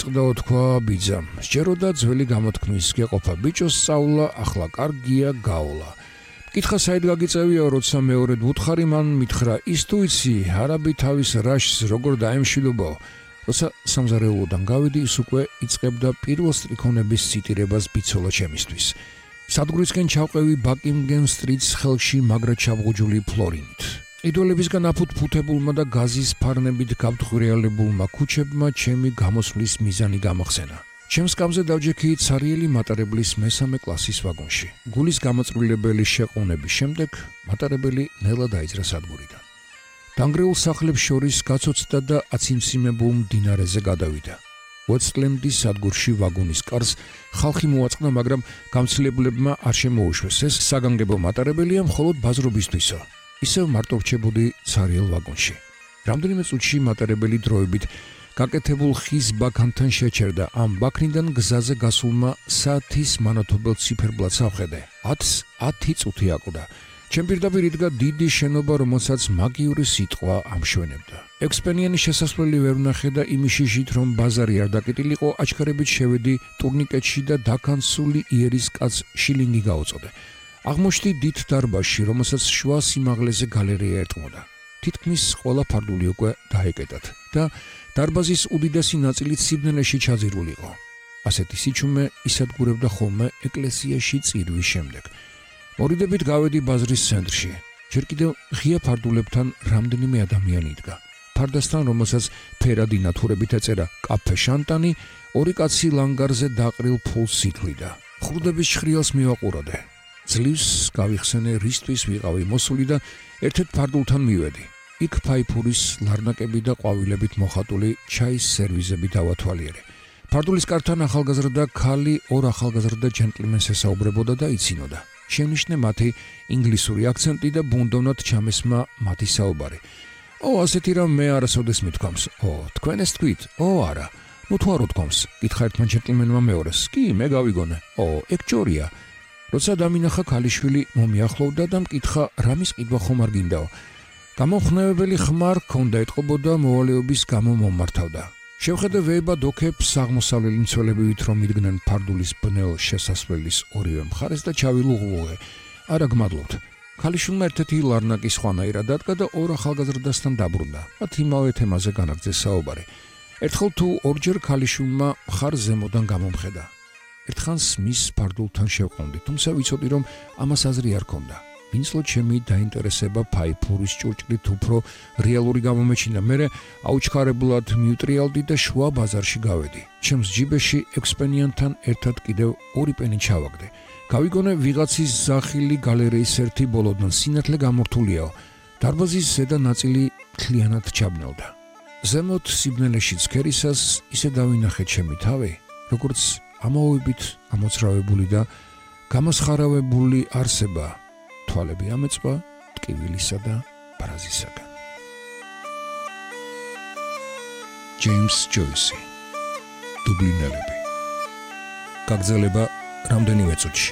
წდა თქვა ბიძამ, სჯეროდა ძველი გამოთქმის გეყოფა ბიჭოს სწავლა, ახლა კარგია გაულა. მკითხა საით გაგიწევია, როცა მეორედ ვუთხარი მან მითხრა, ის თუ იცი, არაბი თავის რაშს როგორ დაემშვიდობო. როცა სამზარეულოდან გავიდი, ის უკვე იწყებდა პირველ სტრიქონების ციტირებას ბიცოლა ჩემისთვის. სადგურისკენ ჩავყევი ბაკინგემ სტრიტს ხელში მაგრა ჩამღუჯული ფლორინით. იდოლებისგან აფუთფუთებულმა და გაზის ფარნებით გავთხრიალებულმა ქუჩებმა ჩემი გამოსვლის მიზანი გამახსენა. ჩემს კამზე დავჯექი ცარიელი მატარებლის მესამე კლასის ვაგონში. გულის გამოწვრილებელი შეყუნების შემდეგ მატარებელი ნელა დაიძრა სადგურიდან. დანგრეულ სახლებს შორის გაცოცდა და აციმციმებულ მდინარეზე გადავიდა. უოტსლენდის სადგურში ვაგონის კარს ხალხი მოაწყდა, მაგრამ გამცილებლებმა არ შემოუშვეს. ეს საგანგებო მატარებელია მხოლოდ ბაზრობისთვისო. ისევ მარტო რჩებოდი ცარიელ ვაგონში. რამდენიმე წუთში მატარებელი დროებით გაკეთებულ ხის ბაქანთან შეჩერდა. ამ ბაქნიდან გზაზე გასულმა საათის მანათობელ ციფერბლადს ავხედე. 10 წუთი აკვდა. ჩემ პირდაპირ იდგა დიდი შენობა, რომელსაც მაგიური სიტყვა ამშვენებდა. ექსპენიანის შესასვლელი ვერ ვნახე და იმის შიშით, რომ ბაზარი არ დაკეტილიყო, აჩქარებით შევედი ტურნიკეტში და დაქანცული იერის კაცს შილინგი გაუწოდე. აღმოჩნდი დიდ დარბაზში, რომელსაც შუა სიმაღლეზე გალერეა ერტყმოდა. თითქმის ყველა ფარდული უკვე დაეკეტათ და დარბაზის უდიდესი ნაწილი სიბნელეში ჩაძირულიყო. ასეთი სიჩუმე ისადგურებდა ხოლმე ეკლესიაში წირვის შემდეგ. მორიდებით გავედი ბაზრის ცენტრში. ჯერ კიდევ ღია ფარდულებთან რამდენიმე ადამიანი იდგა. ფარდასთან, რომელსაც ფერადი ნათურებით ეწერა კაფე შანტანი, ორი კაცი ლანგარზე დაყრილ ფულს ითვლიდა. ხრუდების შხრიალს მივაყუროდე. ძლივს გავიხსენე, რისთვის ვიყავი მოსული და ერთ-ერთ ფარდულთან მივედი. იქ ფაიფურის ლარნაკები და ყვავილებით მოხატული ჩაის სერვიზები დავათვალიერე. ფარდულის კართან ახალგაზრდა ქალი ორ ახალგაზრდა ჯენტლმენს ესაუბრებოდა და იცინოდა. შენიშნე მათი ინგლისური აქცენტი და ბუნდოვნად ჩამესმა მათი საუბარი. ასეთი რამ მე არასოდეს მithქვამს. თქვენ ეს თქვით? არა. ნუ თუ არ უთქვამს? კითხა ერთმა ჯენტლმენმა მეორეს. კი, მე გავიგონე. ეგ ჯორია. როცა დამინახა, ქალიშვილი მომიახლოვდა და მკითხა, რამის ყიდვა ხომ არ გინდაო. გამომხნევებელი ხმარ ჰქონდა, ეტყობოდა, მოვალეობის გამო მომართავდა. შევხედე ვეებად ოქებს აღმოსავლელი მცველებივით, რომ იდგნენ ფარდულის ბნელ შესასვლელის ორივე მხარეს და ჩავილუღლუღე. არა გმადლობთ. ქალიშვილმა ერთ-ერთი ლარნაკი სხვანაირად დადგა და ორ ახალგაზრდასთან დაბრუნდა. მათ იმავე თემაზე განაგრძეს საუბარი. ერთხელ თუ ორჯერ ქალიშვილმა მხარ ზემოდან გამომხედა. ერთხანს მის ფარდულთან შევყონდი, თუმცა ვიცოდი, რომ ამას აზრი არ ქონდა. ვინცლო ჩემი დაინტერესება ფაიფურის ჭურჭლით უფრო რეალური გამომეჩინა. მერე აუჩქარებლად მიუტრიალდი და შუა ბაზარში გავედი. ჩემს ჯიბეში ექსპენიანთან ერთად კიდევ 2 პენი ჩავაგდე. გავიგონე, ვიღაცის ზახილი გალერეის ერთი ბოლოდან სინათლე გამორთულიაო. დარბაზის ზედა ნაწილი მთლიანად ჩაბნელდა. ზემოთ სიბნელეში ცქერისას ისე დავინახე ჩემი თავი, როგორც ამაოებით ამოცრავებული და გამოსხარავებული არსება. თვალები ამეწვა ტკივილისა და ბრაზისაგან. ჯეიმს ჯოისი. დუბლინელები. გაგრძელება რამდენიმე წუთში.